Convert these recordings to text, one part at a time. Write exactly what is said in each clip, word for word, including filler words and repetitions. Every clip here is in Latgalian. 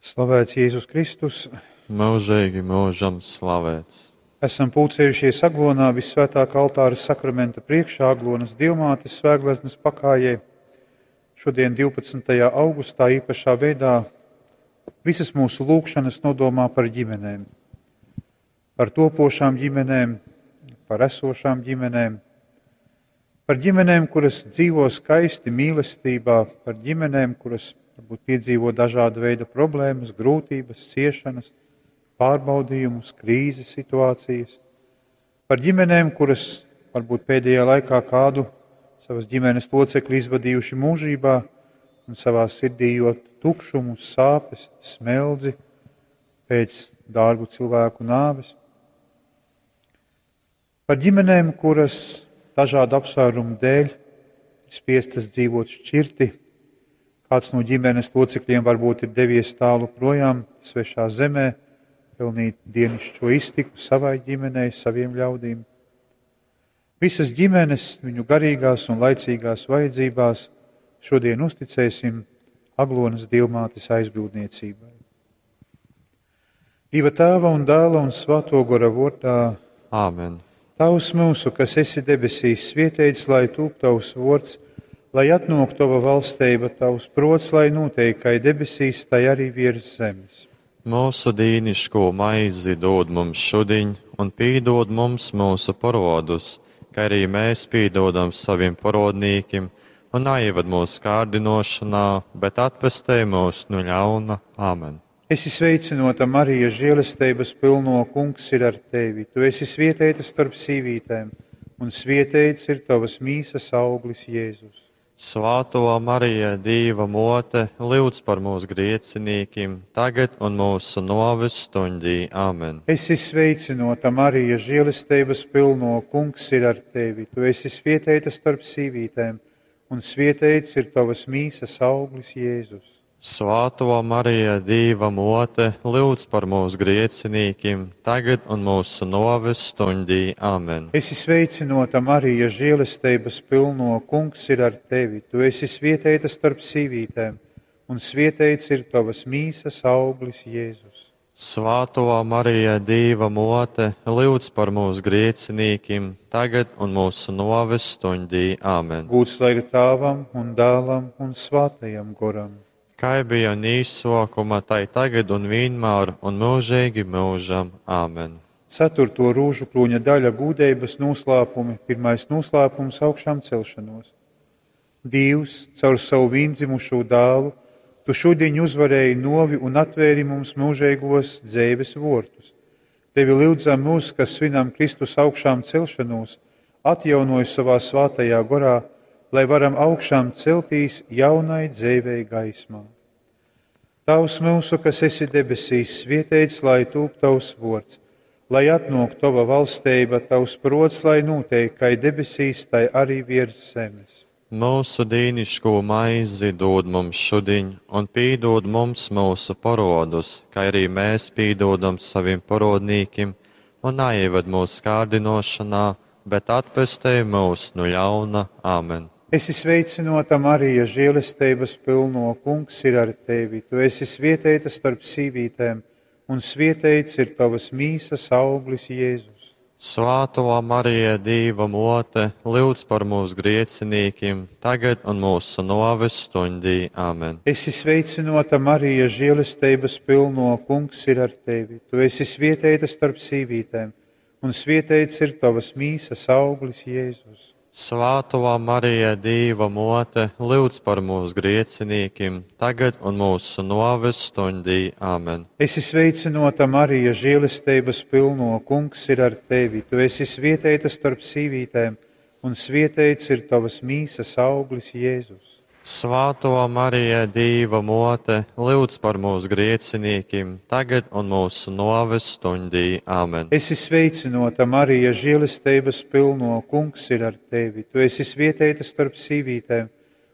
Slavēts Jēzus Kristus! Mūžīgi mūžam slavēts! Esam pulcējušies Aglonā Vissvētākā altāra sakramenta priekšā Aglonas Dievmātes svētgleznas pakājē. Šodien divpadsmitajā augustā īpašā veidā visas mūsu lūgšanas nodomā par ģimenēm. Par topošām ģimenēm, par esošām ģimenēm, par ģimenēm, kuras dzīvo skaisti mīlestībā, par ģimenēm, kuras varbūt piedzīvo dažāda veida problēmas, grūtības, ciešanas, pārbaudījumus, krīzes situācijas, par ģimenēm, kuras varbūt pēdējā laikā kādu savas ģimenes locekli izvadījuši mūžībā un savā sirdī jūt tukšumu, sāpes, smeldzi pēc dārgu cilvēku nāves. Par ģimenēm, kuras dažādu apsvērumu dēļ ir spiestas dzīvot šķirti, kāds no ģimenes locekļiem varbūt ir devies tālu projām, svešā zemē, pelnīt dienišķo iztiku savai ģimenei, saviem ļaudīm. Visas ģimenes, viņu garīgās un laicīgās vajadzībās šodien uzticēsim Aglonas Dievmātes aizbildniecībai. Dieva Tēva un Dēla un Svēto Gora vārdā. Āmen. Tavs mūsu, kas esi debesīs, svētīts lai tūp tavs vārds, lai atnāk tava valstība, tavs prots, lai notiek, kā debesīs, tai arī virs zemes. Mūsu dīniško maizi dod mums šodien, un pīdod mums mūsu parodus, kā arī mēs pīdodam saviem parodnīkim, un neieved mūsu kārdinošanā, bet atpestē mūs no ļauna. Āmen. Esi sveicinota, Marija, žēlestības pilno, Kungs ir ar tevi. Tu esi svētīta starp sīvītēm, un svētīts ir tavas mīsas auglis Jēzus. Svētā Marija, Dieva mote, lūdz par mūsu griecinīkim, tagad un mūsu noves stundī. Āmen. Esi sveicinota, Marija, žēlestības pilno, Kungs ir ar tevi. Tu esi svētīta starp sīvītēm, un svētīts ir tavas mīsas auglis Jēzus. Svētā Marija, Dieva mote, lūdz par mūsu griecinīkim, tagad un mūsu noves stundī. Āmen. Esi sveicinota, Marija, žēlestības pilno, Kungs ir ar tevi. Tu esi svētīta starp sīvītēm, un svētīts ir tavas mīsas auglis Jēzus. Svētā Marija, Dieva mote, lūdz par mūsu griecinīkim, tagad un mūsu noves stundī. Āmen. Gūts lai ir Tēvam un Dēlam un Svētajam Goram. Kā bija un īsokuma, tai tagad un vienmēr un mūžīgi mūžam. Āmen. Ceturto rūžu krūņa daļa gūdeibas noslēpumi, pirmais noslēpums augšām celšanos. Dievs, caur savu viendzimušo dēlu, tu šodien uzvarēji novi un atvēri mums mūžīgos dzīves vortus. Tevi lūdzam mūs, kas svinam Kristus augšām celšanos, atjaunoj savā svētajā gorā, lai varam augšām celtīs jaunai dzīvei gaismā. Tavs mūsu, kas esi debesīs, svētīts lai tūp tavs vārds, lai atnāk tava valstība, tavs prots, lai notiek, kā debesīs, tai arī virs zemes. Mūsu dīniško maizi dod mums šodien, un pīdod mums mūsu parodus, kā arī mēs pīdodam saviem parodnīkim, un neieved mūsu kārdinošanā, bet atpestē mūs no ļauna. Āmen. Esi sveicinota, Marija, žēlestības pilno, Kungs ir ar tevi. Tu esi svētīta starp sīvītēm, un svētīts ir tavas mīsas auglis Jēzus. Svētā Marija, Dieva mote, lūdz par mūsu griecinīkim, tagad un mūsu noves stundī. Āmen. Esi sveicinota, Marija, žēlestības pilno, Kungs ir ar tevi. Tu esi svētīta starp sīvītēm, un svētīts ir tavas mīsas auglis Jēzus. Svētā Marija, Dieva mote, lūdz par mūsu griecinīkim, tagad un mūsu noves stundī. Āmen. Esi sveicinota, Marija, žēlestības pilno, Kungs ir ar tevi. Tu esi svētīta starp sīvītēm, un svētīts ir tavas mīsas auglis Jēzus. Svētā Marija, Dieva mote, lūdz par mūsu griecinīkim, tagad un mūsu noves stundī. Āmen. Esi sveicinota, Marija, žēlestības pilno, Kungs ir ar tevi. Tu esi svētīta starp sīvītēm,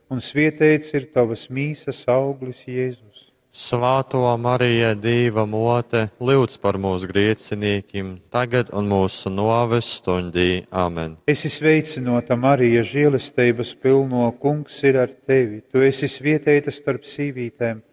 un svētīts ir tavas mīsas auglis Jēzus. Svētā Marija, Dieva mote, lūdz par mūsu griecinīkim, tagad un mūsu noves stundī. Āmen. Esi sveicinota, Marija, žēlestības pilno, Kungs ir ar tevi. Tu esi svētīta starp sīvītēm,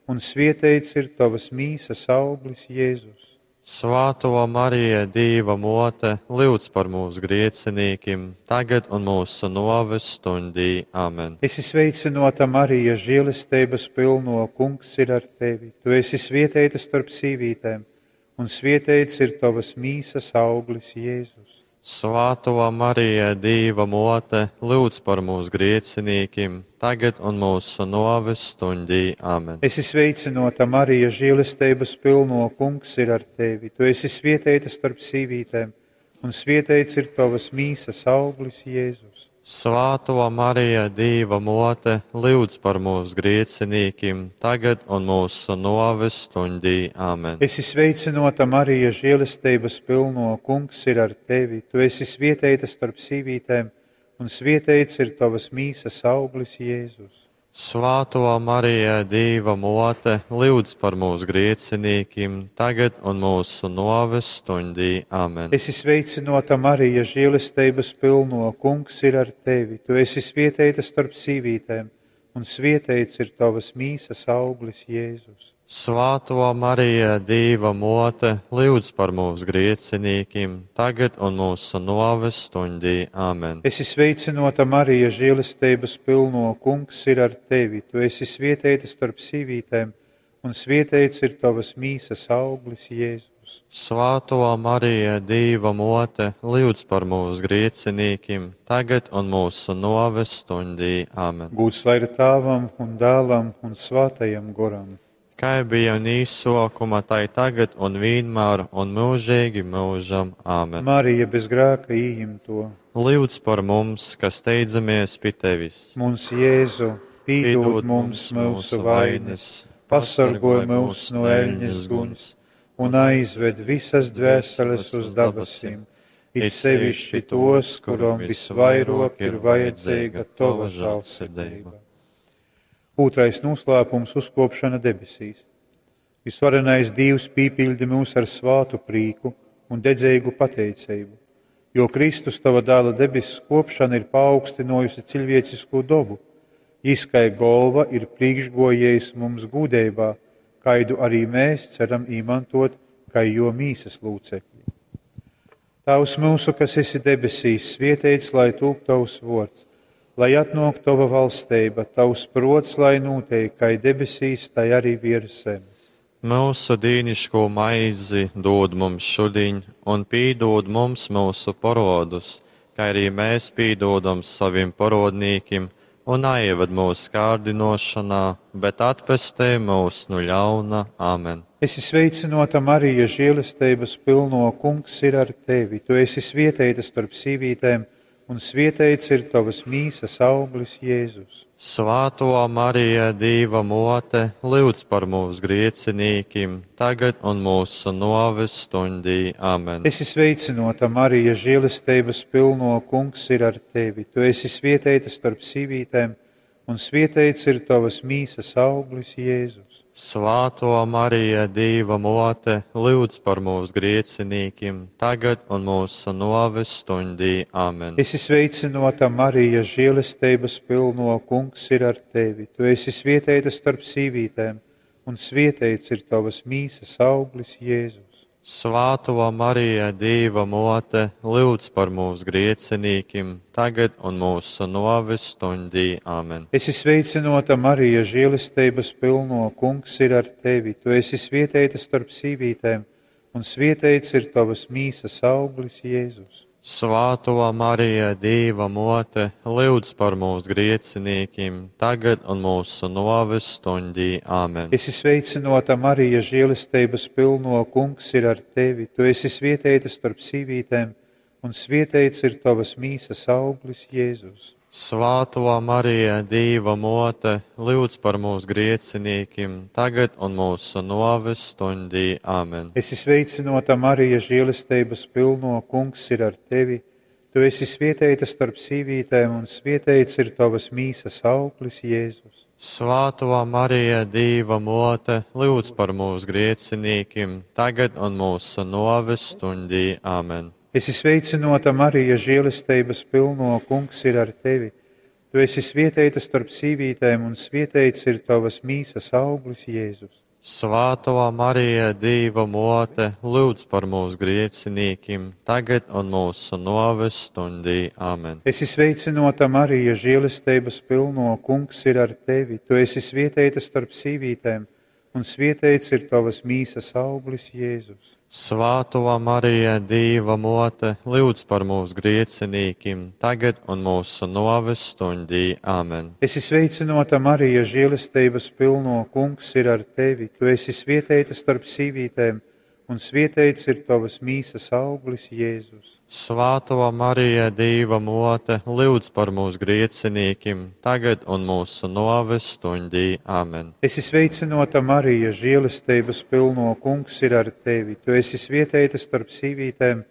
un svieteits ir tavas mīsas auglis, Jēzus. Svāto Marija, Dīva mote, lūdz par mūsu griecinīkim, tagad un mūsu noves stundī. Amen. Esi sveicināta, Marija, žēlestības pilno, kungs ir ar tevi. Tu esi svieteita starp sīvītēm, un svieteits ir tavas mīsas auglis, Jēzus. Svāto Marija, Dīva mote, lūdz par mūsu griecinīkim, tagad un mūsu noves stundī. Amen. Esi sveicināta, Marija, žēlestības pilno, kungs ir ar tevi. Tu esi svieteita starp sīvītēm, un svieteits ir tavas mīsas auglis, Jēzus. Svāto Marija, Dīva mote, lūdz par mūsu griecinīkim, tagad un mūsu noves stundī. Amen. Esi sveicināta, Marija, žēlestības pilno, kungs ir ar tevi. Tu esi svieteita starp sīvītēm, un svieteits ir tavas mīsas auglis, Jēzus. Svāto Marija, Dīva mote, lūdz par mūsu griecinīkim, tagad un mūsu noves stundī. Amen. Esi sveicināta, Marija, žēlestības pilno, kungs ir ar tevi. Tu esi svieteita starp sīvītēm, un svieteits ir tavas mīsas auglis, Jēzus. Svāto Marija, Dīva mote, lūdz par mūsu griecinīkim, tagad un mūsu noves stundī. Amen. Esi sveicināta, Marija, žēlestības pilno, kungs ir ar tevi. Tu esi svieteita starp sīvītēm, un svieteits ir tavas mīsas auglis, Jēzus. Svāto Marija, Dīva mote, lūdz par mūsu griecinīkim, tagad un mūsu noves stundī. Amen. Gūds lai ir Tēvam un Dēlam un Svātajam Goram. Kā bija un īsokuma, tai tagad un vienmēr un mūžīgi mūžam. Āmen. Marija bez grēka ījimto. Lūdz par mums, kas steidzamies pie tevis. Mums Jēzu, pīdod mums mūsu vainas, pasargoj mūs no eļņas guns un aizved visas dvēseles uz dabasim, it sevišķi tos, kurom visvairāk ir vajadzīga tava žēlsirdība. Otrais noslēpums - uzkopšana debesīs. Visvarenais Dievs pīpildi mūs ar svātu prīku un dedzīgu pateicību, jo Kristus tava dēla debesu kopšana ir paaugstinājusi cilvēcisko dobu. Jis kai golva ir priekšgojējis mums gūdībā, kaidu arī mēs ceram īmantot, kai jo mīsas lūcekļi. Tavs mūsu, kas esi debesīs, svietēts, lai tūp tavs vords, lai atnāk tava valstība, tavs prots, lai notiek, kai debesīs, tai arī virs zemes. Mūsu dīniško maizi dod mums šodien, un pīdod mums mūsu parodus, kā arī mēs pīdodam saviem parodnīkim, un neieved mūsu kārdinošanā, bet atpestē mūs no ļauna. Amen. Esi sveicināta, Marija, žēlestības pilno, kungs ir ar tevi. Tu esi svieteita starp sīvītēm, un svieteits ir tavas mīsas auglis, Jēzus. Svāto Marija, Dīva mote, lūdz par mūsu griecinīkim, tagad un mūsu noves stundī. Amen. Esi sveicināta, Marija, žēlestības pilno, kungs ir ar tevi. Tu esi svieteita starp sīvītēm, un svieteits ir tavas mīsas auglis, Jēzus. Svāto Marija, Dīva mote, lūdz par mūsu griecinīkim, tagad un mūsu noves stundī. Amen. Esi sveicināta, Marija, žēlestības pilno, kungs ir ar tevi. Tu esi svieteita starp sīvītēm, un svieteits ir tavas mīsas auglis, Jēzus. Svāto Marija, Dīva mote, lūdz par mūsu griecinīkim, tagad un mūsu noves stundī. Amen. Esi sveicināta, Marija, žēlestības pilno, kungs ir ar tevi. Tu esi svieteita starp sīvītēm, un svieteits ir tavas mīsas auglis, Jēzus. Svāto Marija, Dīva mote, lūdz par mūsu griecinīkim, tagad un mūsu noves stundī. Amen. Esi sveicināta, Marija, žēlestības pilno, kungs ir ar tevi. Tu esi svieteita starp sīvītēm, un svieteits ir tavas mīsas auglis, Jēzus. Svāto Marija, Dīva mote, lūdz par mūsu griecinīkim, tagad un mūsu noves stundī. Amen. Esi sveicināta, Marija, žēlestības pilno, kungs ir ar tevi. Tu esi svieteita starp sīvītēm, un svieteits ir tavas mīsas auglis, Jēzus. Svāto Marija, Dīva mote, lūdz par mūsu griecinīkim, tagad un mūsu noves stundī. Amen. Esi sveicināta, Marija, žēlestības pilno, kungs ir ar tevi. Tu esi svieteita starp sīvītēm, un svieteits ir tavas mīsas auglis, Jēzus. Svātō Marija, Dīva mōte, lūdz par mūsu grēciniekiem, tagad un mūsu nōves stundī. Amen. Esi sveicināta, Marija, žēlestības pilno, Kungs ir ar tevi. Tu esi svieteita starp sīvītēm, un svieteits ir tavas mīsas auglis, Jēzus. Svātō Marija, Dīva mōte, lūdz par mūsu grēciniekiem, tagad un mūsu nōves stundī. Amen. Esi sveicināta, Marija, žēlestības pilno, Kungs ir ar tevi. Tu esi svieteita starp sīvītēm, un svieteits ir tavas mīsas auglis, Jēzus. Svātō Marija, Dīva mōte, lūdz par mūsu grēciniekiem, tagad un mūsu nōves stundī. Amen. Esi sveicināta, Marija, žēlestības pilno, Kungs ir ar tevi. Tu esi svieteita starp sīvītēm,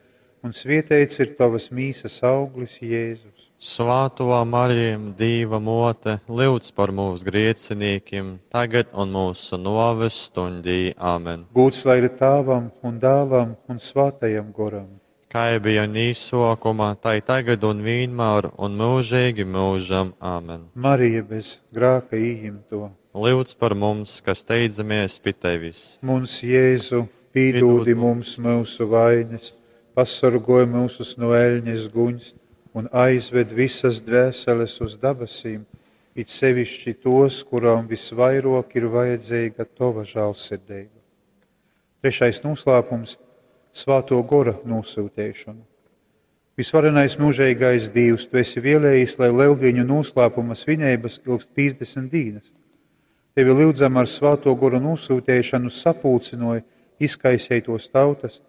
un svieteits ir tavas mīsas auglis, Jēzus. Svātō Marija, Dīva mōte, lūdz par mūsu grēciniekiem, tagad un mūsu nōves stundī. Amen. Gūds lai ir Tāvam un Dēlam un Svātajam Goram. Kā bija īsākumā, tai tagad un vienmēr un mūžīgi mūžam. Amen. Marija bez grāka ījimto. Lūdz par mums, kas steidzamies pie tevis. Mums, Jēzu, pīdūdi mums mūsu vainas, pasargoj mūsus no eļņas guņas un aizved visas dvēseles uz dabasīm, it sevišķi tos, kurām visvairāk ir vajadzīga tova žēlsirdība. Trešais noslēpums - Svāto Gora nosūtīšana. Visvarenais mūžīgais Dievs, tu esi vēlējis, lai lieldienu noslēpuma svinības ilgst piecdesmit dienas. Tevi lūdzam ar Svāto Goru nosūtīšanu sapulcinoja izkaisētos tautas,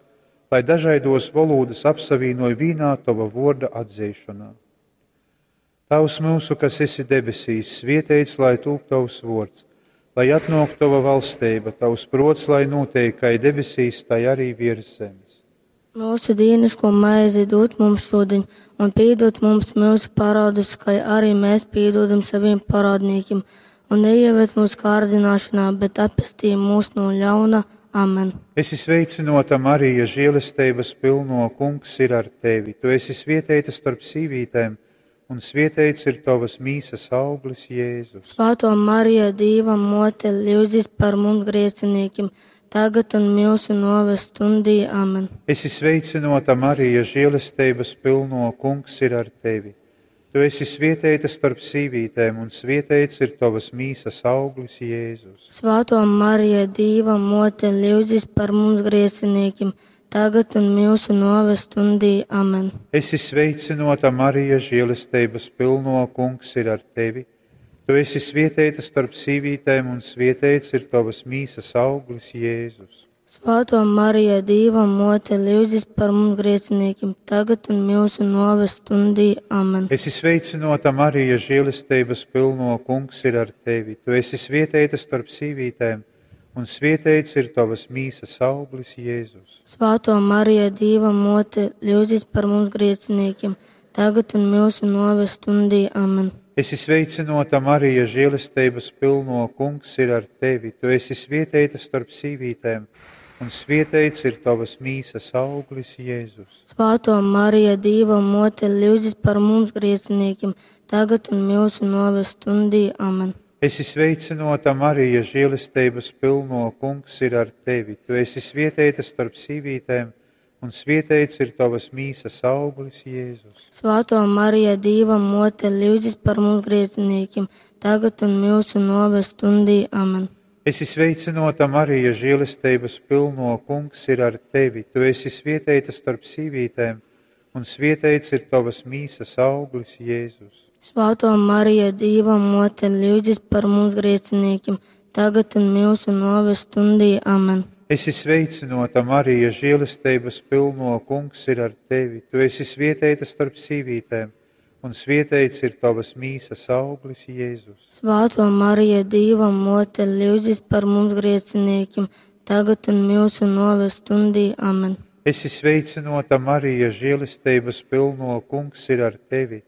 lai dažādos valodas apsavīnoja vīnā tava vorda atzīšanā. Tavs mūsu, kas esi debesīs, svietēts, lai tūp tavs vords, lai atnāk tava valstība, tavs prots, lai notiek, kā debesīs, tai arī virs zemes. Mūsu dienascho maizi dod mums šodien, un piedod mums mūsu parādus, kā arī mēs piedodam saviem parādniekiem, un neieved mūsu kārdināšanā, bet atpestī mūs no ļauna. Amen. Esi sveicināta, Marija, žēlestības pilno, Kungs ir ar tevi. Tu esi svieteita starp sīvītēm, un svieteits ir tavas mīsas auglis, Jēzus. Svētā Marija, Dieva mote, lūdzis par mums grēciniekiem, tagad un mūsu nāves stundī. Amen. Esi sveicināta, Marija, žēlestības pilno, Kungs ir ar tevi. Tu esi svieteita starp sīvītēm, un svieteits ir tavas mīsas auglis, Jēzus. Svētā Marija, Dieva mote, lūdzis par mums grēciniekiem, tagad un mūsu nāves stundī. Amen. Esi sveicināta, Marija, žēlestības pilno, Kungs ir ar tevi. Tu esi svieteita starp sīvītēm, un svieteits ir tavas mīsas auglis, Jēzus. Svētā Marija, Dieva mote, lūdzis par mums grēciniekiem, tagad un mūsu nāves stundī. Amen. Esi sveicināta, Marija, žēlestības pilno, Kungs ir ar tevi. Tu esi svieteita starp sīvītēm, un svieteits ir tavas mīsas auglis, Jēzus. Svētā Marija, Dieva mote, lūdzis par mums grēciniekiem, tagad un mūsu nāves stundī. Amen. Esi sveicināta, Marija, žēlestības pilno, Kungs ir ar tevi. Tu esi svieteita starp sīvītēm, un svieteits ir tavas mīsas auglis, Jēzus. Svētā Marija, Dieva mote, lūdzis par mums grēciniekiem, tagad un mūsu nāves stundī. Amen. Esi sveicināta, Marija, žēlestības pilno, Kungs ir ar tevi. Tu esi svieteita starp sīvītēm, un svieteits ir tavas mīsas auglis, Jēzus. Svētā Marija, Dieva mote, lūdzis par mums grēciniekiem, tagad un mūsu nāves stundī. Amen. Esi sveicināta, Marija, žēlestības pilno, Kungs ir ar tevi. Tu esi svieteita starp sīvītēm, un svieteits ir tavas mīsas auglis, Jēzus. Svētā Marija, Dieva mote, lūdzis par mums grēciniekiem, tagad un mūsu nāves stundī. Amen. Esi sveicināta, Marija, žēlestības pilno, Kungs ir ar tevi. Tu esi svieteita starp sīvītēm, un svieteits ir tavas mīsas auglis, Jēzus. Svētā Marija, Dieva mote, lūdzis par mums grēciniekiem, tagad un mūsu nāves stundī. Amen. Esi sveicināta, Marija, žēlestības pilno, Kungs ir ar tevi.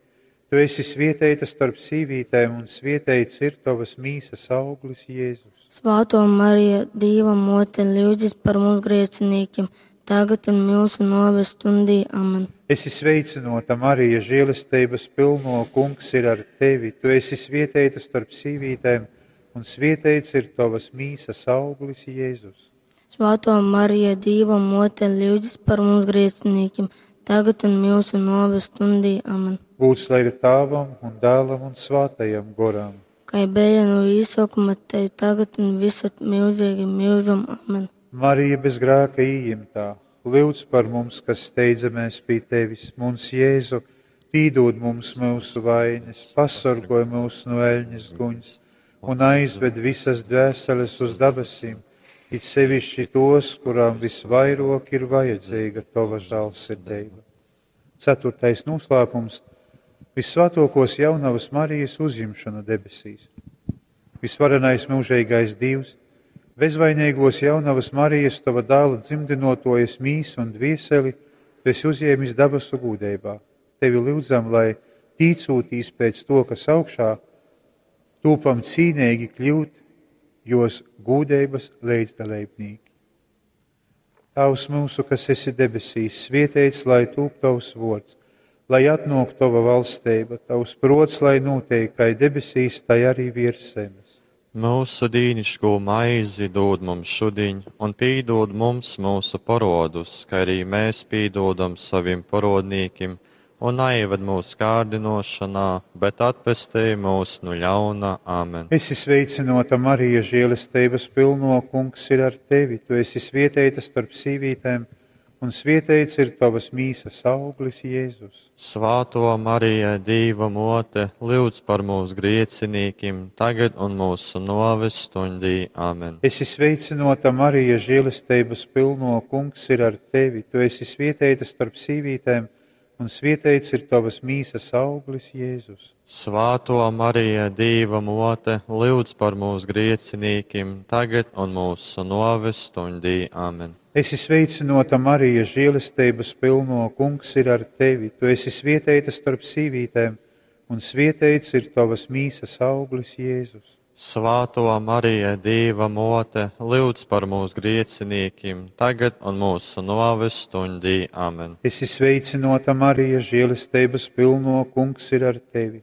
Tu esi svieteita starp sīvītēm, un svieteits ir tavas mīsas auglis, Jēzus. Svētā Marija, Dieva mote, lūdzis par mums grēciniekiem, tagad un mūsu nōves stundī. Amen. Esi sveicināta, Marija, žēlestības pilno, Kungs ir ar tevi. Tu esi svietēta starp sīvītēm, un svietēts ir tavas mīsas auglis, Jēzus. Svētā Marija, Dieva mote, lūdzas par mums grēciniekiem, tagad un mūsu nāves stundī. Amen. Gūts lai ir Tēvam un Dēlam un Svētajam Goram. Kā bija no īsākuma, tai tagad un visad mūžīgi mūžam. Amen. Marija bez grēka ījimtā, lūdz par mums, kas steidzamies pie tevis, mums Jēzu, pīdod mums mūsu vainas, pasargoj mūs no eļņas guņas un aizved visas dvēseles uz debesīm, it sevišķi tos, kurām visvairāk ir vajadzīga tava žēlsirdība. Ceturtais noslēpums - Visvētākos jaunavas Marijas uzņemšana debesīs. Visvarenais mūžīgais Dievs, bezvainīgos jaunavas Marijas tava dēla dzimdinotojas mīsu un dvieseli, tu esi uzņēmis dabasu gūdībā. Tevi lūdzam, lai tīcūtīs pēc to, kas augšā, tūpam cīnīgi kļūt, jos gūdības līdzdalībnieki. Tavs mūsu, kas esi debesīs, svietēts, lai tūp tavs vārds, lai atnāk tava valstība, tavs prots, lai notiek, kā debesīs, tai arī virs zemes. Mūsu dīniško maizi dod mums šodien, un pīdod mums mūsu parodus, kā arī mēs pīdodam saviem parodnīkim, un neieved mūsu kārdinošanā, bet atpestī mūs no ļauna. Āmen. Esi sveicināta, Marija, žēlestības pilno, Kungs ir ar tevi. Tu esi svietēta starp sīvītēm, un svietēts ir tavas mīsas auglis, Jēzus. Svāto Marija, Dīva mote, lūdz par mūsu griecinīkim, tagad un mūsu noves stundī. Āmen. Esi sveicināta, Marija, žēlestības pilno, Kungs ir ar tevi. Tu esi svietēta starp sīvītēm, un svietēts ir tavas mīsas auglis, Jēzus. Svāto Marija, Dīva mote, lūdz par mūsu griecinīkim, tagad un mūsu noves stundī. Āmen. Esi sveicināta, Marija, žēlestības pilno, Kungs ir ar tevi. Tu esi svietēta starp sīvītēm, un svietēts ir tavas mīsas auglis, Jēzus. Svāto Marija, Dīva mote, lūdz par mūsu griecinīkim, tagad un mūsu noves stundī. Āmen. Esi sveicināta, Marija, žēlestības pilno, Kungs ir ar tevi.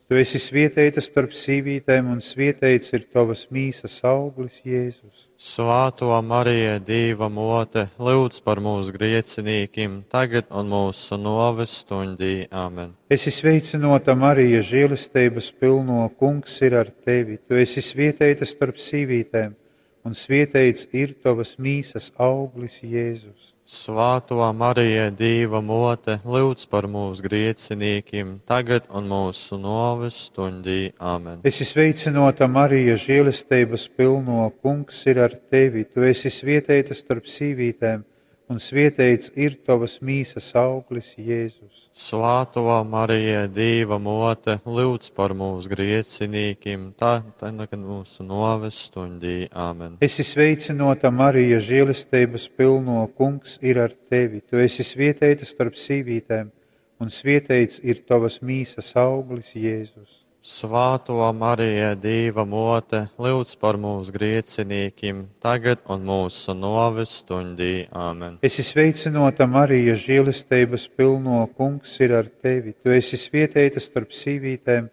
Tu esi svietēta starp sīvītēm, un svietēts ir tavas mīsas auglis, Jēzus. Svāto Marija, Dīva mote, lūdz par mūsu griecinīkim, tagad un mūsu noves stundī. Āmen. Esi sveicināta, Marija, žēlestības pilno, Kungs ir ar tevi. Tu esi svietēta starp sīvītēm, un svietēts ir tavas mīsas auglis, Jēzus. Svāto Marija, Dīva mote, lūdz par mūsu griecinīkim, tagad un mūsu noves stundī. Āmen. Esi sveicināta, Marija, žēlestības pilno, Kungs ir ar tevi. Tu esi svietēta starp sīvītēm, un svietēts ir tavas mīsas auglis, Jēzus. Svāto Marija, Dīva mote, lūdz par mūsu griecinīkim, tā, tagad mūsu noves stundī. Āmen. Esi sveicināta, Marija, žēlestības pilno, Kungs ir ar tevi. Tu esi svietēta starp sīvītēm, un svietēts ir tavas mīsas auglis, Jēzus. Svāto Marija, Dīva mote, lūdz par mūsu griecinīkim, tagad un mūsu noves stundī. Āmen. Esi sveicināta, Marija, žēlestības pilno, Kungs ir ar tevi. Tu esi svietēta starp sīvītēm,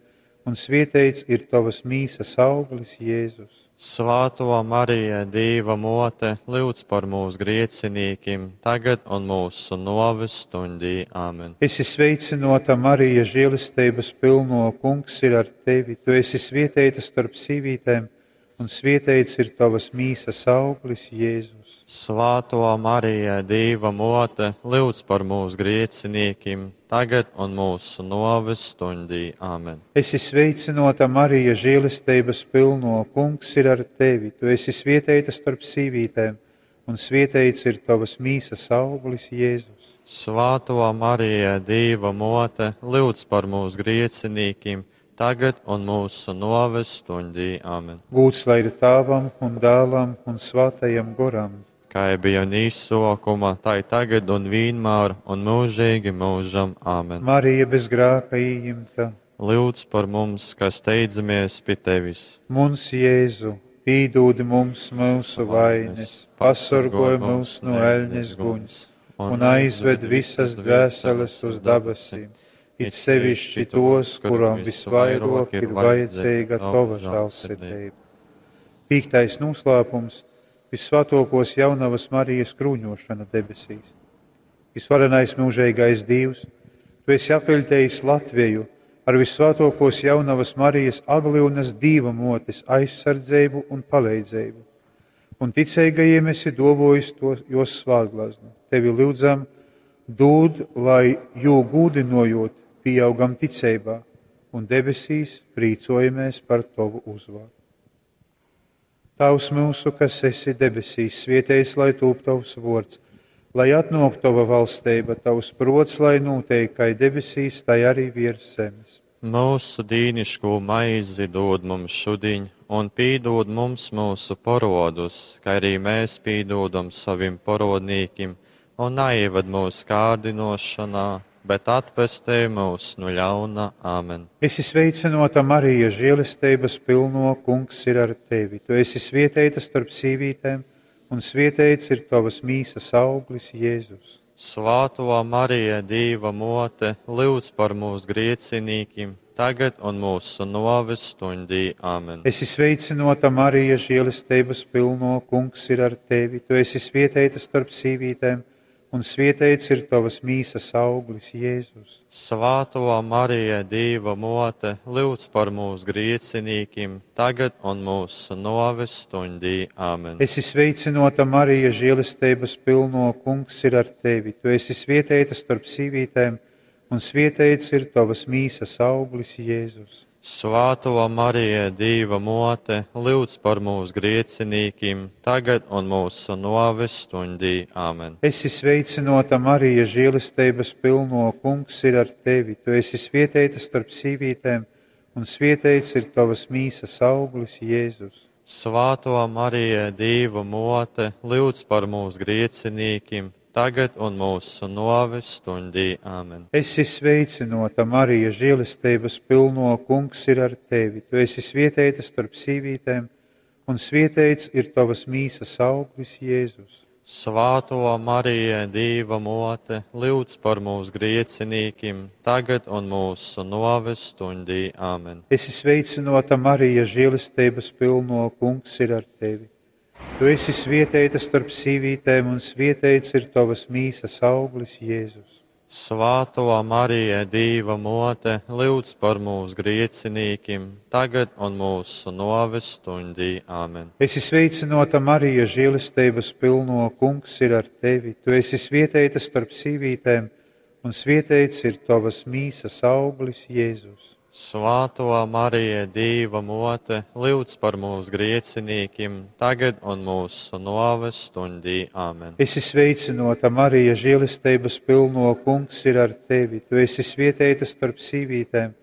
un svietēts ir tavas mīsas auglis, Jēzus. Svāto Marija, Dīva mote, lūdz par mūsu griecinīkim, tagad un mūsu noves stundī. Āmen. Esi sveicināta, Marija, žēlestības pilno, Kungs ir ar tevi. Tu esi svietēta starp sīvītēm, un svietēts ir tavas mīsas auglis, Jēzus. Svāto Marija, Dīva mote, lūdz par mūsu griecinīkim, tagad un mūsu noves stundī. Āmen. Esi sveicināta, Marija, žēlestības pilno, Kungs ir ar tevi. Tu esi svietēta starp sīvītēm, un svietēts ir tavas mīsas auglis, Jēzus. Svāto Marija, Dīva mote, lūdz par mūsu griecinīkim, tagad un mūsu noves stundī. Āmen. Gūts lai ir Tēvam un Dēlam un Svētajam Goram. Kā bija un īsokuma, tā ir tagad un vienmēr un mūžīgi mūžam. Āmen. Marija bez grēka ījimta, Lūdz par mums, kas steidzamies pie tevis. Mums Jēzu, Pīdūd mums mūsu vainas, pasorgoj mūs no eļņas guņs un aizved visas dvēseles uz dabasim, it sevišķi tos, kurām visvairāk ir vajadzīga tova žēlsirdība. Piektais noslēpums - Visvētākos jaunavas Marijas krūņošana debesīs. Visvarenais mūžīgais Dievs, tu esi apveļtējis Latviju ar visvētākos jaunavas Marijas Agliunas Dīva motes aizsardzību un palīdzību. Un ticīgajiem esi dovojis to, jos svētglaznu. Tevi lūdzam, dod, lai jū gūdinojot, pieaugam ticībā un debesīs prīcojamies par tavu uzvaru. Tavs mūsu, kas esi debesīs, svietējis, lai tūp tavs vārds, lai atnāk tava valstība, tavs prots, lai notiek, kā debesīs, tai arī virs zemes. Mūsu dīniško maizi dod mums šodien, un pīdod mums mūsu parodus, kā arī mēs pīdodam savim parodnīkim, un neieved mūsu kārdinošanā, bet atpestī mūs no ļauna. Āmen. Esi sveicinota Marija, žēlestības pilno, kungs ir ar tevi. Tu esi svietēta starp sīvītēm, un svietēts ir tavas mīsas auglis, Jēzus. Svāto Marija, Dīva mote, lūdz par mūsu griecinīkim, tagad un mūsu noves stundī. Āmen. Esi sveicinota Marija, žēlestības pilno, kungs ir ar tevi. Tu esi svietēta starp sīvītēm, un svietēts ir tavas mīsas auglis, Jēzus. Svāto Marija, Dīva mote, lūdz par mūsu griecinīkim, tagad un mūsu noves stundī. Āmen. Esi sveicinota Marija, žēlestības pilno, kungs ir ar tevi. Tu esi svietēta starp sīvītēm, un svietēts ir tavas mīsas auglis, Jēzus. Svāto Marija, Dīva mote, lūdz par mūsu griecinīkim, tagad un mūsu noves stundī. Āmen. Esi sveicinota Marija, žēlestības pilno, kungs ir ar tevi. Tu esi svietēta starp sīvītēm, un svietēts ir tavas mīsas auglis, Jēzus. Svāto Marija, Dīva mote, lūdz par mūsu griecinīkim, tagad un mūsu noves stundī. Āmen. Esi sveicinota Marija, žēlestības pilno, kungs ir ar tevi. Tu esi svietēta starp sīvītēm, un svietēts ir tavas mīsas auglis, Jēzus. Svāto Marija, Dīva mote, lūdz par mūsu griecinīkim, tagad un mūsu noves stundī. Āmen. Esi sveicinota Marija, žēlestības pilno, kungs ir ar tevi. Tu esi svietēta starp sīvītēm, un svietēts ir tavas mīsas auglis, Jēzus. Svāto Marija, Dīva mote, lūdz par mūsu griecinīkim, tagad un mūsu noves stundī. Āmen. Esi sveicinota Marija, žēlestības pilno, kungs ir ar tevi. Tu esi svietēta starp sīvītēm, un svietēts ir tavas mīsas auglis, Jēzus. Svāto Marija, Dīva mote, lūdz par mūsu griecinīkim, tagad un mūsu noves stundī. Āmen. Esi sveicinota Marija, žēlestības pilno, kungs ir ar tevi. Tu esi svietēta starp sīvītēm,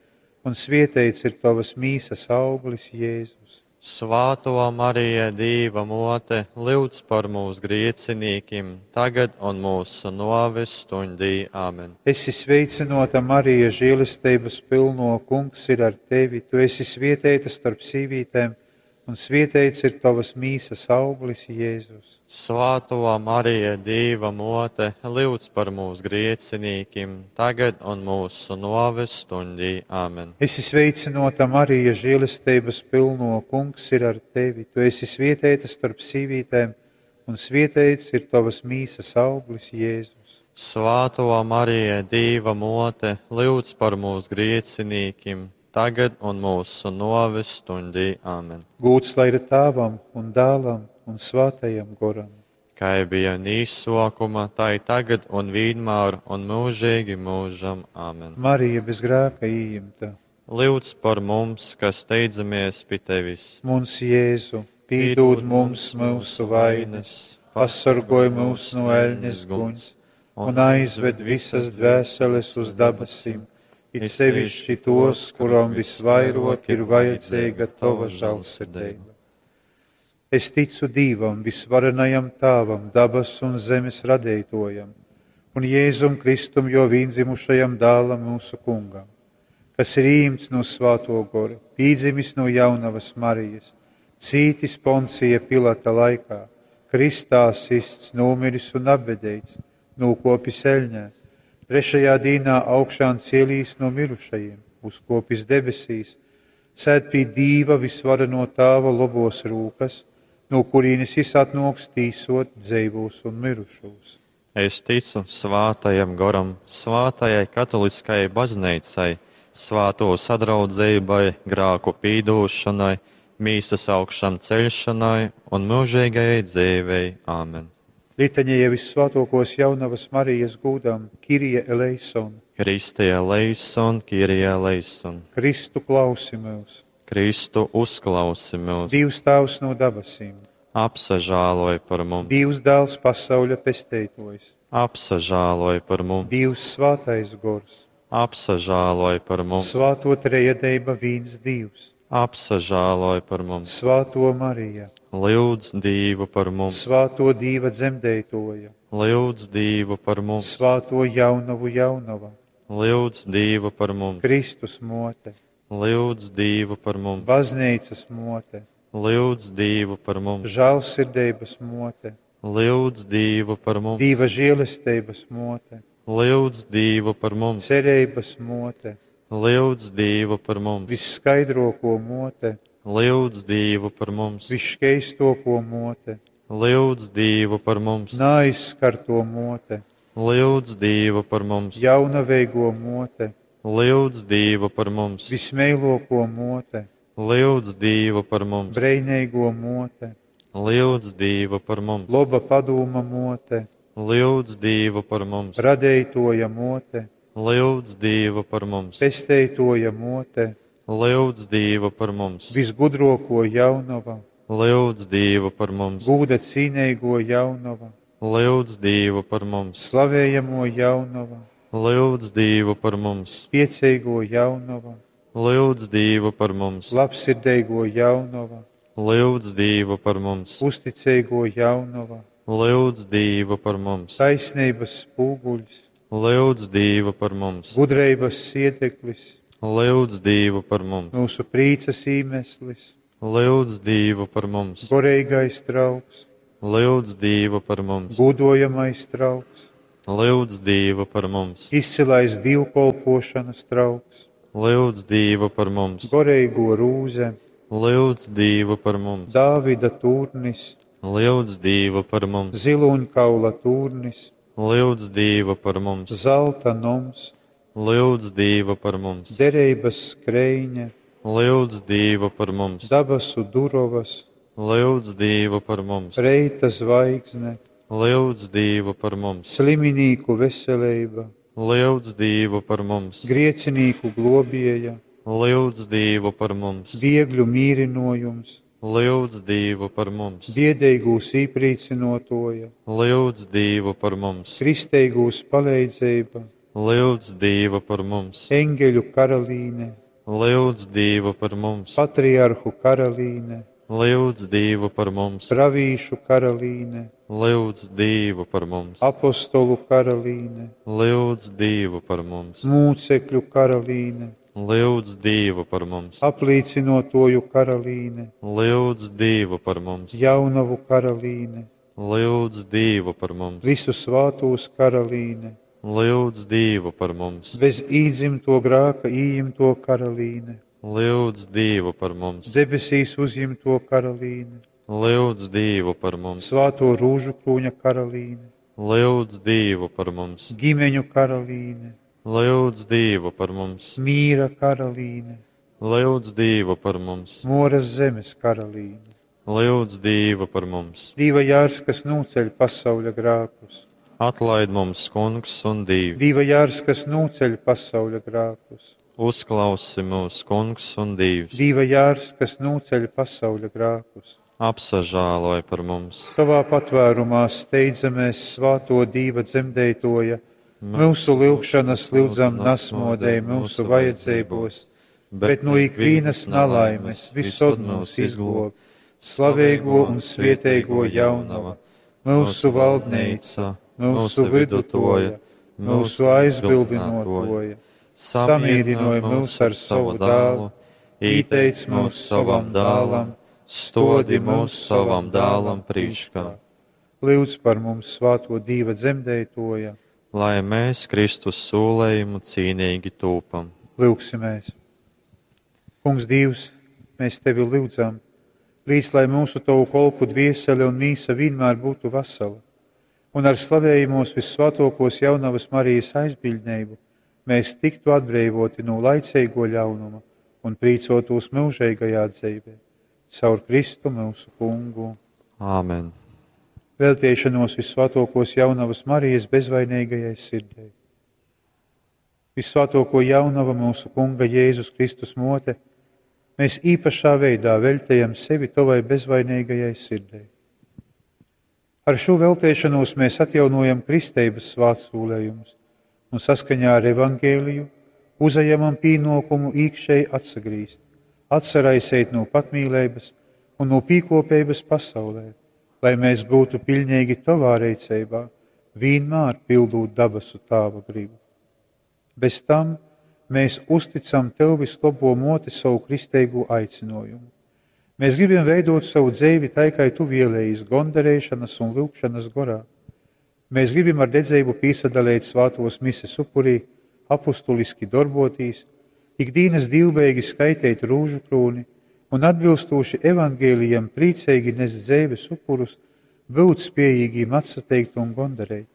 un svietēts ir tavas mīsas auglis, Jēzus. Svāto Marija, Dīva mote, lūdz par mūsu griecinīkim, tagad un mūsu noves stundī. Āmen. Esi sveicinota Marija, žēlestības pilno, kungs ir ar tevi. Tu esi svietēta starp sīvītēm, un svietēts ir tavas mīsas auglis, Jēzus. Svāto Marija, Dīva mote, lūdz par mūsu griecinīkim, tagad un mūsu noves stundī. Āmen. Esi sveicinota Marija, žēlestības pilno, kungs ir ar tevi. Tu esi svietēta starp sīvītēm, un svietēts ir tavas mīsas auglis, Jēzus. Svāto Marija, Dīva mote, lūdz par mūsu griecinīkim, tagad un mūsu noves stundī. Āmen. Gūts lai ir tēvam un dēlam un svētajam goram. Kā bija nīsokuma, tā ir tagad un vienmēr un mūžīgi mūžam. Āmen. Marija bez grēka ieimta. Lūdz par mums, kas steidzamies pie tevis. Mums Jēzu, pīdūd mums mūsu vainas, pasargoj mūs no eļņas guņs un aizved visas dvēseles uz dabasim, it sevišķi tos, kuram visvairāk ir vajadzīga tava žēlsirdība. Es ticu Dievam, visvarenajam Tēvam, dabas un zemes radītojam, un Jēzum Kristum, jo vienzimušajam dēlam mūsu kungam, kas ir īmts no Svēto gora, pīdzimis no jaunavas Marijas, Cītis Poncija Pilata laikā, kristā sists, nūmiris un apbedeits, nūkopis eļņē, trešajā dīnā augšām cielīs no mirušajiem, uzkopis debesīs, sēd pie Dīva visvareno Tāva lobos rūkas, no kurienes jis atnoks tīsot dzeivos un mirušos. Es ticu svātajam goram, svātajai katoliskajai baznīcai, svāto sadraudzībai, grāku pīdūšanai, mīsas augšām ceļšanai un mūžīgajai dzīvei. Āmen. Litaņa vissvētākos jaunavas Marijas gūdam, Kirie eleison, Kristie eleison, Kirie eleison. Kristu klausi mūs, Kristu uzklausi mūs, Dievs Tēvs no dabasīm, apsažāloj par mums, Dievs Dēls pasauļa pesteitojs, apsažāloj par mums, Dievs Svētais Gors, apsažāloj par mums, Svāto Trejadeiba vīns Dievs, apsažāloj par mums, Svāto Marija, Lyudz Dievu par mums, Svāto Dīva dzemdētoja, lyudz Dievu par mums, Svāto jaunavu jaunava, lyudz Dievu par mums, Kristus mote, lyudz Dievu par mums, Baznīcas mote, lyudz Dievu par mums, žēlsirdības mote, lyudz Dievu par mums, Dīva žēlestības mote, lyudz Dievu par mums, cerības mote, lyudz Dievu par mums, visskaidroko mote, lyudz Dievu par mums, visškeistoko mote, lyudz Dievu par mums, naaizskarto mote, lyudz Dievu par mums, jaunaveigo mote, lyudz Dievu par mums, vismeiloko mote, lyudz Dievu par mums, breineigo mote, lyudz Dievu par mums, loba padūma mote, lyudz Dievu par mums, radeitoja mote, lyudz Dievu par mums, pesteitoja mote, lyudz Dievu par mums, visgudroko jaunava, lyudz Dievu par mums, gūda cīneigo jaunava, lyudz Dievu par mums, slavējamo jaunava, lyudz Dievu par mums, spieceigo jaunava, lyudz Dievu par mums, labsirdeigo jaunava, lyudz Dievu par mums, uzticeigo jaunava, lyudz Dievu par mums, taisnības spūguļs, lyudz Dievu par mums, gudrības siedeklis, lyudz Dievu par mums, mūsu prīcas īmeslis, lyudz Dievu par mums, goreigais trauks, lyudz Dievu par mums, gudojamais trauks, lyudz Dievu par mums, izcilais dievkolpošanas trauks, lyudz Dievu par mums, goreigo rūze, lyudz Dievu par mums, Dāvida tūrnis, lyudz Dievu par mums, ziloņkaula tūrnis, lyudz Dievu par mums, zelta noms, lyudz Dievu par mums, derības skreiņa, lyudz Dievu par mums, dabasu durovas, lyudz Dievu par mums, reita zvaigzne, lyudz Dievu par mums, sliminīku veselība, lyudz Dievu par mums, griecinīku globieja, lyudz Dievu par mums, viegļu mīrinojums, lyudz Dievu par mums, biedīgūs īprīcinotoja, lyudz Dievu par mums, kristeigūs palīdzība, lyudz Dievu par mums, eņģeļu karalīne, lyudz Dievu par mums, patriarhu karalīne, lyudz Dievu par mums, pravīšu karalīne, lyudz Dievu par mums, apostolu karalīne, lyudz Dievu par mums, mūcekļu karalīne, lyudz Dievu par mums, aplīcinotoju karalīne, lyudz Dievu par mums, jaunavu karalīne, lyudz Dievu par mums, visu svātūs karalīne, lyudz Dievu par mums, bez īdzimto grāka īimto karalīne, lyudz Dievu par mums, debesīs uzjimto karalīne, lyudz Dievu par mums, svāto rūžu krūņa karalīne, lyudz Dievu par mums, ģimeņu karalīne, lyudz Dievu par mums, mīra karalīne, lyudz Dievu par mums, moras zemes karalīne, lyudz Dievu par mums. Dīva jārs, kas nūceļ pasauļa grākus, Atlaid mums, Kungs un Dievs, Dīva jārs, kas nūceļ pasauļa grākus, uzklausi mūs, Kungs un Dievs, Dīva jārs, kas nūceļ pasauļa grākus. apsažāloj par mums. Savā patvērumā steidzamies svāto Dīva dzemdētoja, mūsu lyugšanas lyudzam nasmodē mūsu vajadzībos, bet no ikvienas nalaimes visod mūs izglob, slavēgo un svietēgo jaunava, mūsu valdneica, mūsu vidutoja, mūsu aizbildinotoja, samierināja mūs ar savu dālu, ieteic mūs savam dālam, Stodi mūs savam dālam prīškā. Lūdz par mums svāto Dīva dzemdētoja. Lai mēs Kristus sūlējumu cīnīgi tūpam. Lūgsimies! Kungs Dievs, mēs Tevi lūdzam, līdz lai mūsu Tavu kolpu dviesele un mīsa vienmēr būtu vesela, un ar slavējumos vissvētokos jaunavas Marijas aizbiļdnību mēs tiktu atbrīvoti no laicīgo ļaunuma un prīcotos mūžīgajā dzīvē. Caur Kristu mūsu kungu. Āmen. Veltiešanos vissvētokos jaunavas Marijas bezvainīgajai sirdei. Vissvētoko jaunava mūsu kunga Jēzus Kristus mote, mēs īpašā veidā veltējam sevi tavai bezvainīgajai sirdei. Ar šo veltēšanos mēs atjaunojam kristeibas svētsūlējumus un saskaņā ar evangēliju uzajamam pienākumu īkšēji atsagrīzt, atsaraisēt no patmīlības un no pīkopības pasaulē, lai mēs būtu pilnīgi tavā reicībā, vienmēr pildot dabasu tāva gribu. Bez tam mēs uzticam tev vislabo moti savu kristīgo aicinājumu. Mēs gribam veidot savu dzīvi tai, kā tu vēlējies, gondarēšanas un lūgšanas gorā. Mēs gribam ar dedzību piesadalīt svātos mises upurī, apustuliski darbotīs, ikdienas divbeigi skaitīt rūžu krūni un atbilstoši evangēlijam priecīgi nest dzīves upurus, būt spējīgiem atsateikt un gondarēt.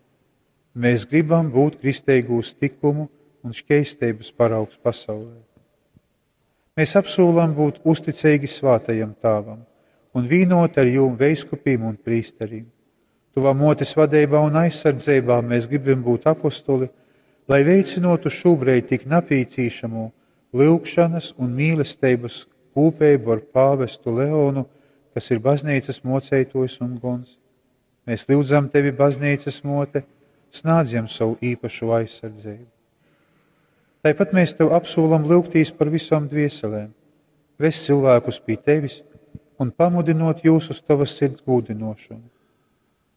Mēs gribam būt kristīgūs tikumu un šķeistības paraugs pasaulē. Mēs apsolam būt uzticīgi svātajam tāvam un vīnot ar jum veiskupīm un prīsterīm. Tuvā motes vadībā un aizsardzībā mēs gribam būt apostoli, lai veicinotu šobrīd tik napīcīšamo lūgšanas un mīlestības kūpēbu ar pāvestu Leonu, kas ir baznīcas mocētojs un gons. Mēs lūdzam tevi, baznīcas mote, snādzjam savu īpašu aizsardzību. Tāpat mēs tev apsolam lūgtīs par visām dvieselēm, vest cilvēkus pie tevis un pamudinot jūs uz tavas sirds gūdinošanu.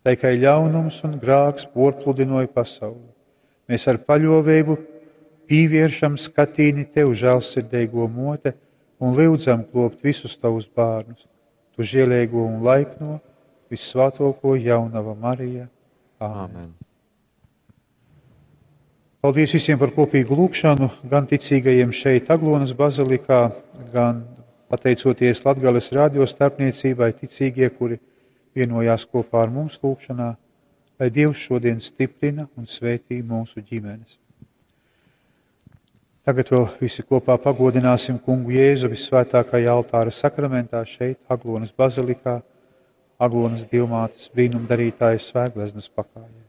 Tā kā ļaunums un grāks porpludinoja pasauli, mēs ar paļovēbu pīvēršam skatīni tev, žēlsirdīgo mote, un lūdzam klopt visus tavus bērnus, tu žēlīgo un laipno, vissvētoko jaunava Marija. Āmen. Āmen. Paldies visiem par kopīgu lūgšanu, gan ticīgajiem šeit Aglonas bazilikā, gan pateicoties Latgales radio starpniecībai ticīgie, kuri vienojās kopā ar mums lūgšanā, lai Dievs šodien stiprina un svētī mūsu ģimenes. Tagad vēl visi kopā pagodināsim kungu Jēzu visvētākajā altāra sakramentā šeit, Aglonas bazilikā, Aglonas dievmātes brīnumdarītājas svētgleznas pakājē.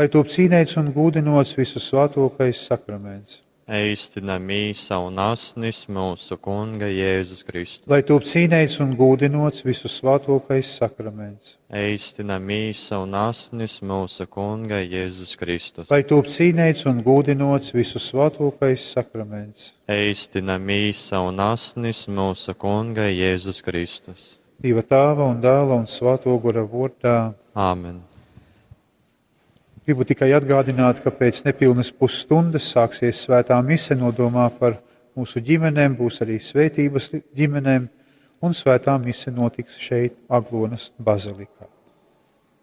Lai top cīnēts un gūdinots visu svētokais sakraments. Eistina mīsa un asnis mūsu Kunga Jēzus Kristus. Lai top cīnēts un gūdinots visu svētokais sakraments. Eistina mīsa un asnis mūsu Kunga Jēzus Kristus. Lai top cīnēts un gūdinots visu svētokais sakraments. Eistina mīsa un asnis mūsu Kunga Jēzus Kristus. Dieva tēva un dēla un svēto gora vārdā. Āmen. Gribu tikai atgādināt, ka pēc nepilnas pusstundas sāksies svētā mise nodomā par mūsu ģimenēm, būs arī svētības ģimenēm, un svētā mise notiks šeit, Aglonas bazilikā.